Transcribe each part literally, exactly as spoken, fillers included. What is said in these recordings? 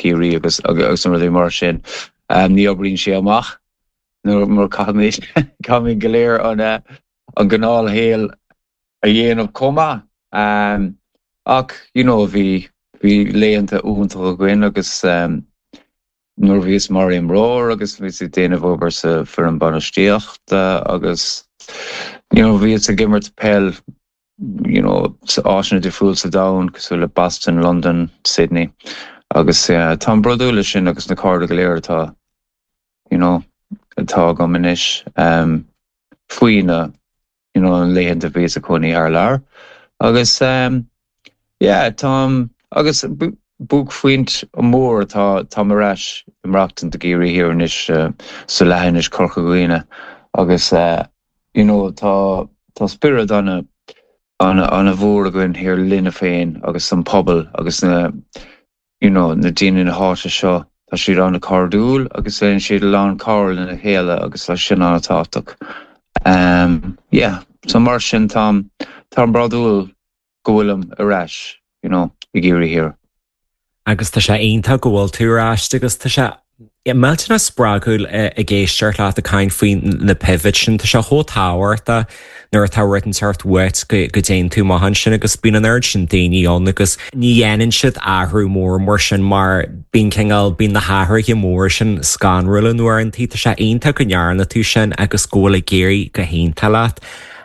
Ciarraí agus agus an rudaí mar sin um, ní oibríonn sé amach nuair mar caithfimid caithfimid go léir an uh, an gnáthshaol a dhéanamh chomh maith. Um, ach you know, bhí bhí laethanta iontach againn agus um, nuair bhíos mar imreoir agus bhíos ag déanamh obair sa foireann bainistíochta agus you know, bhíos ag imirt peil you know, áiteanna difriúil sa domhan cosúil le Boston, London, Sydney agus uh, tá brodúil leis sin agus na cairde go léir atá you know, atá agam anois um, faoi na you know, an laethanta bhíos ag cónaí thar lear agus um, yeah, tá agus buaicphointe mór tá tá ar ais ag maireachtaint i gCiarraí Thiar anois uh, sa leathinis Corca Dhuibhne agus uh, you know, tá tá spiorad ana ana ana mhór againn thiar linne féin agus an pobal agus na you know, na daoine na háite seo tá siad an-chairdiúil agus déanann siad lán cabhair lena chéile agus tá sin an-tábhachtach. Um, yeah, so mar sin tá tá brodúil go bhfuilim ar ais you know, i gCiarraí Thiar. Agus tá sé iontach go bhfuil tú ar ais agus tá sé millteanach spreagúil ag éisteacht leat ag caint faoi na pivot sin tá sé chomh tábhachtach nuair atá rud inteacht uait go dtéann tú amach ansin agus bíonn an oiread sin daoine ann agus ní dhéanann siad athrú mór mar sin mar bíonn cineál bíonn na hathruithe mór sin scanrúil uaireanta tá sé iontach go ndearna tú sin agus go bhfuil ag éirí go hiontach leat.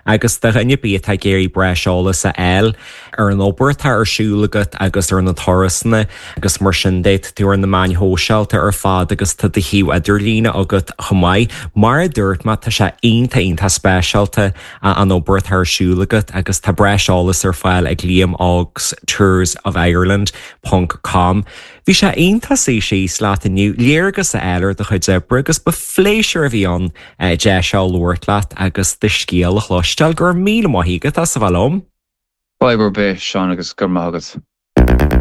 agus do dhuine ar bith atá ag iarraidh breis eolas a fháil ar an obair atá ar siúl agat agus ar na turasanna agus mar sin de tú ar na meáin shóisialta ar fad agus tá do shuíomh idirlíne agat chomh maith. Mar a dúirt mé tá sé iontach iontach speisialta an obair atá ar siúl agat agus tá breis eolas ar fáil ag Liam Óg's Tours of Ireland ponc com. Bhí sé iontach suí síos leat inniu léargas a fháil ar do chuid oibre agus ba phléisiúr a bhí ann deis a labhairt leat agus do scéal a chloisteáil go raibh míle maith agat as a bheith liom. Fadhb ar bith Seán agus gur maith agat.